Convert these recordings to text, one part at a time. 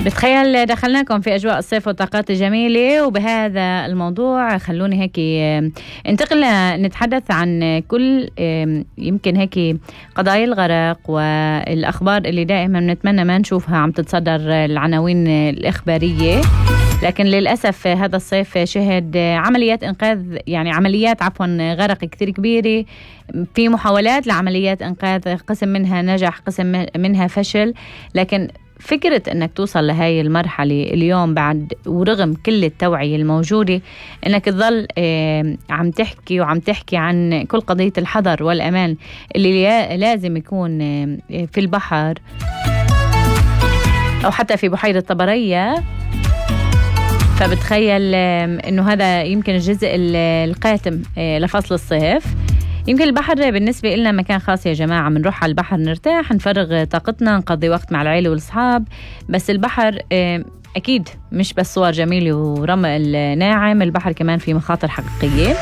بتخيل دخلناكم في أجواء الصيف والطاقات الجميلة، وبهذا الموضوع خلوني هيك انتقل نتحدث عن كل يمكن هيك قضايا الغرق والأخبار اللي دائما نتمنى ما نشوفها عم تتصدر العناوين الإخبارية. لكن للأسف هذا الصيف شهد عمليات إنقاذ، يعني عمليات غرق كتير كبيرة، في محاولات لعمليات إنقاذ، قسم منها نجح قسم منها فشل. لكن فكرة أنك توصل لهاي المرحلة اليوم بعد ورغم كل التوعية الموجودة أنك تظل عم تحكي عن كل قضية الحذر والأمان اللي لازم يكون في البحر أو حتى في بحيرة طبرية. فبتخيل أنه هذا يمكن الجزء القاتم لفصل الصيف. يمكن البحر بالنسبة لنا مكان خاص يا جماعة، منروح على البحر نرتاح، نفرغ طاقتنا، نقضي وقت مع العيلة والأصحاب. بس البحر أكيد مش بس صور جميلة ورمل ناعم، البحر كمان في مخاطر حقيقية.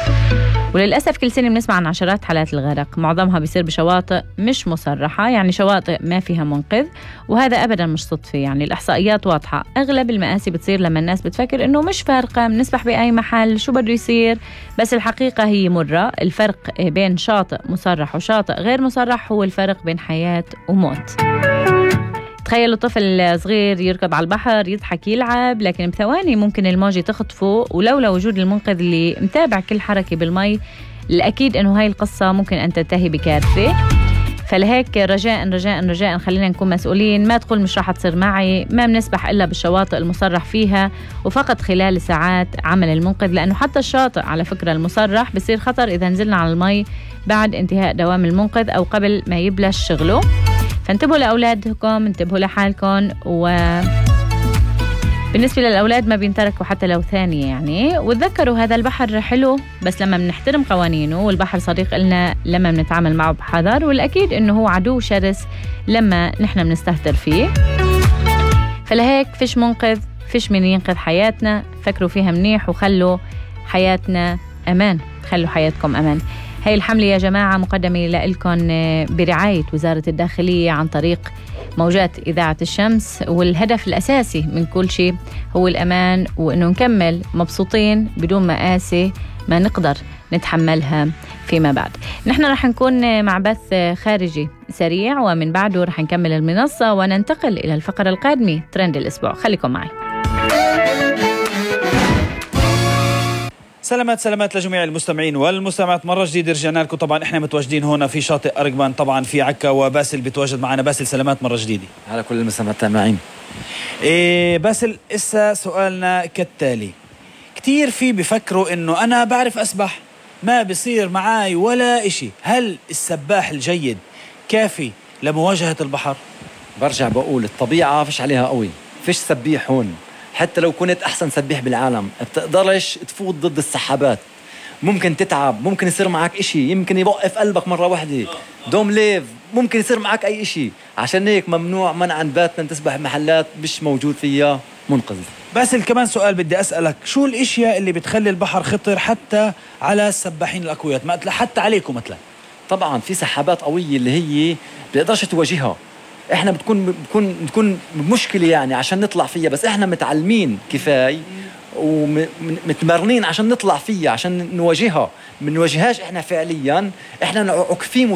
وللأسف كل سنة بنسمع عن عشرات حالات الغرق، معظمها بيصير بشواطئ مش مصرحة، يعني شواطئ ما فيها منقذ، وهذا أبدا مش صدفة. يعني الإحصائيات واضحة، أغلب المآسي بتصير لما الناس بتفكر إنه مش فارقة، بنسبح بأي محل شو بده يصير. بس الحقيقة هي مرة. الفرق بين شاطئ مصرح وشاطئ غير مصرح هو الفرق بين حياة وموت. تخيلوا طفل صغير يركض على البحر، يضحك، يلعب، لكن بثواني ممكن الموجة تخطفه، ولولا وجود المنقذ اللي متابع كل حركة بالمي الأكيد أنه هاي القصة ممكن أن تنتهي بكارثة. فلهيك رجاء خلينا نكون مسؤولين. ما تقول مش راح تصير معي، ما بنسبح إلا بالشواطئ المصرح فيها وفقط خلال ساعات عمل المنقذ، لأنه حتى الشاطئ على فكرة المصرح بصير خطر إذا نزلنا على المي بعد انتهاء دوام المنقذ أو قبل ما يبلش شغله. فانتبهوا لأولادكم، انتبهوا لحالكم. بالنسبة للأولاد ما بينتركوا حتى لو ثانية يعني، وتذكروا هذا البحر حلو بس لما بنحترم قوانينه، والبحر صديق لنا لما بنتعامل معه بحذر، والأكيد إنه هو عدو شرس لما نحن بنستهتر فيه. فلهيك فيش منقذ، فيش من ينقذ حياتنا، فكروا فيها منيح وخلوا حياتنا أمان، خلوا حياتكم أمان. هاي الحملة يا جماعة مقدمة لكم برعاية وزارة الداخلية عن طريق موجات إذاعة الشمس، والهدف الأساسي من كل شيء هو الأمان، وإنه نكمل مبسوطين بدون مآسي ما نقدر نتحملها فيما بعد. نحن رح نكون مع بث خارجي سريع، ومن بعده رح نكمل المنصة وننتقل إلى الفقرة القادمة ترند الأسبوع. خليكم معي. سلامات لجميع المستمعين والمستمعات، مرة جديدة رجعنا لكم. طبعا احنا متواجدين هنا في شاطئ أرقبان طبعا في عكا، وباسل بيتواجد معنا. باسل سلامات مرة جديدة على كل المستمعين التابعين. باسل، إسا سؤالنا كالتالي. كتير في بفكروا انه انا بعرف أسبح ما بصير معاي ولا اشي، هل السباح الجيد كافي لمواجهة البحر؟ برجع بقول الطبيعة فيش عليها قوي، فيش سبيح هون. حتى لو كنت أحسن سبيح بالعالم بتقدرش تفوت ضد السحابات، ممكن تتعب، ممكن يصير معك إشي، يمكن يوقف قلبك مرة واحدة، دوم ليف، ممكن يصير معك أي إشي. عشان هيك ممنوع منعا باتنا تسبح بمحلات مش موجود فيها منقذ. بس كمان سؤال بدي أسألك، شو الاشياء اللي بتخلي البحر خطر حتى على السباحين الأقوياء، مثلا حتى عليكم مثلا؟ طبعا في سحابات قوية اللي هي بتقدرش تواجهها، احنا بتكون مشكلة يعني عشان نطلع فيها، بس احنا متعلمين كفاية ومتمرنين عشان نطلع فيها، عشان نواجهها. منواجههاش احنا فعليا، احنا عكفين